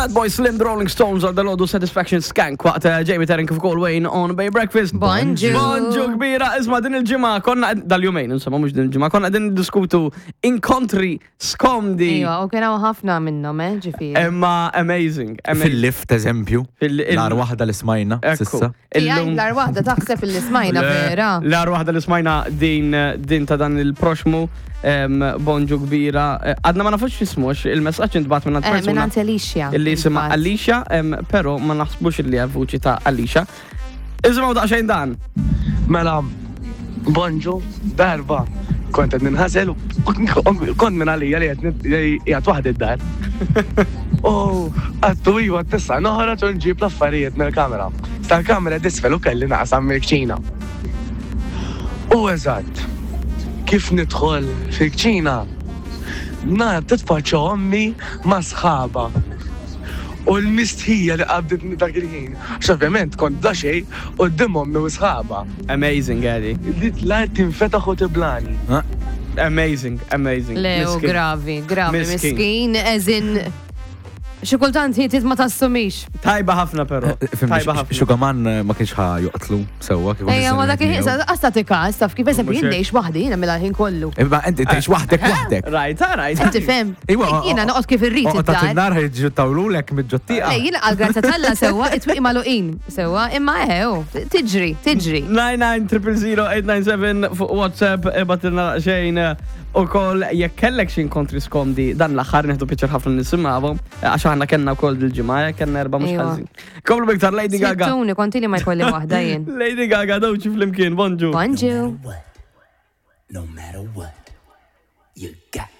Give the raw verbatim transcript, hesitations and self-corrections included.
Fatboy Slim, The Rolling Stones għal dal-għodu, Satisfaction, Skank, waqt eh, Jamie Terren kif ukoll Wayne on Bay Breakfast. Bonġu. Bonġu kbira, isma' din il-ġimgħa konna dal-jumejn, insomma mhux din il-ġimgħa, konna qegħdin diskutu inkontri skomdi. Iva, u kien hawn ħafna minnhom, eh, ġifieri. Imma amazing, amazing. Fil-lift, eżempju. Fil- il- L-agħar waħda li smajna, Ekku. s'issa. Illum- L-agħar waħda taħseb illi smajna vera. L-agħar waħda li smajna din din ta' dan il-proxmu em, bonġu kbira. Eh, Għadna ma nafux x'ismu, għax il-messaġġ intbagħat minn Eh, persuna minn Alicia. illi jisimha Intbagħat. Alicia, em, però ma naħsbux illi hija vuċi ta' Alicia. Isimgħu daqsxejn dan. Mela, bonġu, darba, kont qed ninħasel u kont minn għalija li qed qiegħed waħdi d-dar. U għattu iva tista' noħroġ u nġib l-affarijiet mill-kamera. Tal-kamera disfel u kelli naqsam mill-kċina. U eżatt, kif nidħol fil-kċina, nar titfaċċa ommi ma' sħaba. U l-mistħija li qabditni dak il-ħin. Għax ovvjament kont bla xejn quddiem ommi u sħaba. Amazing, Gary. Li l-art tinfetaħ u tiblani. Amazing, amazing. Le, u Miskin. gravi, gravi, Miskin. miskin, eżin. Xi kultant hitit ma tassumix. Tajba ħafna però. Tajba ħafna. Xugaman eh, ma kienx ħa joqtlu sewwa kif Ejja, ma dak il-ħin, għasta tikas, taf kif eżempju Mhux jien hekk. ngħix waħdi, jiena mela l-ħin kollu. Imma inti tgħix waħdek waħdek. Rajta, rajta. Tifhem? Iwa, Jiena noqgħod kif irrid Oqgħod id-dar. in-nar ħejġu tawlulek mid-ġottieqa. Le, jiena għal-grazzja t'Alla sewwa, it-twieqi magħluqin sewwa, imma eħew, tiġri, tiġri. nine nine zero zero zero eight nine seven fuq WhatsApp ibgħatilna xejn u koll jekk kellek xi inkontri skomdi dan l-aħħar, nieħdu pjaċir ħafna nisimgħuhom għax aħna kellna wkoll dil-ġimgħa, eh, kellna erba' mhux Iva. ħażin. Komplu biktar Lady Gaga. Sittuni, konti li ma jkolli waħda jien. Lady Gaga, Doechii flimkien, bonġu. Bonġu. What, no matter what, you got